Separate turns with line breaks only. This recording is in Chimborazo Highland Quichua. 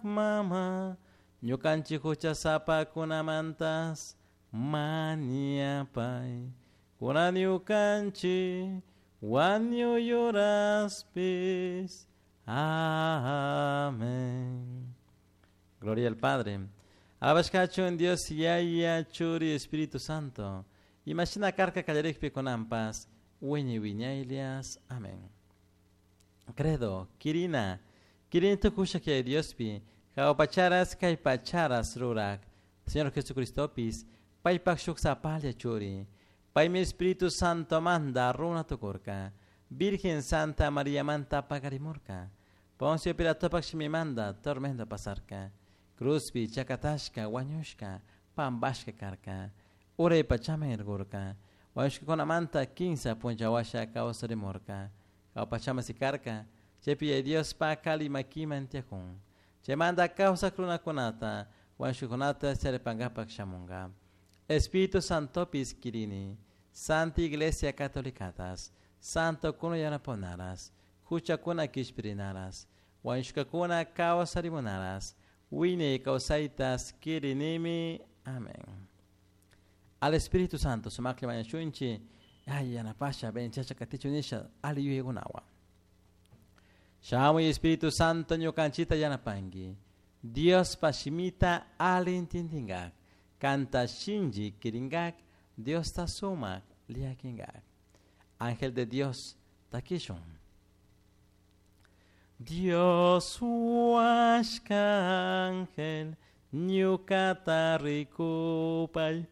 Mama, ñukanchik huchasapakunamantas mañapay. Kunan ñukanchik wañuy horaspis. Amén. Gloria al Padre. Alabashkachun Dios Yaya Churi Espíritu Santo. Imashina karka kallarikpi kunanpas wiñay wiñaylias. Amén. Credo, Kirina, Kirin tukusha kay Diospi, jahua pacharas kay pacharas rurak. Señor Jesucristopis, paypak shuk sapalla churi. Paymi Espíritu Santo manda runa tukurka. Virgen Santa María manta pagarimurka. Poncio Pilatopak shimimanda tormenta pasarka. Cruzpi chakatashka wañushka pambashka karka. Uray pachaman irgurka. Wañushkakunamanta kinsa punlla washa kawsarimurka. Jahua pachaman sikarka. Chaypi Diospa kali makiman tiyakun. Chaymanta kawsak runakunata wañushkakunata charipankapak shamunka. Espíritu Santopis kirini. Santa Iglesia Catolicatas. Santo kuna yanaponaras. Huchakuna kishpirinaras. Wañushkakuna kawsarimunaras. Wiñay kawsaytas kirinimi. Amén. Al Espíritu Santo sumakli mañashunchi. Ay, yanapasha, benchacha katichu nisha, ali yuyaykunawan. Shamuy Espíritu Santo ñukanchita yanapanki. Diospa shimita ali intindinkak. Kanta shinchi kirinkak. Diosta sumak llakinkak. Ángel de Dios, takishun. Dios huashka ángel, ñukata rikupay.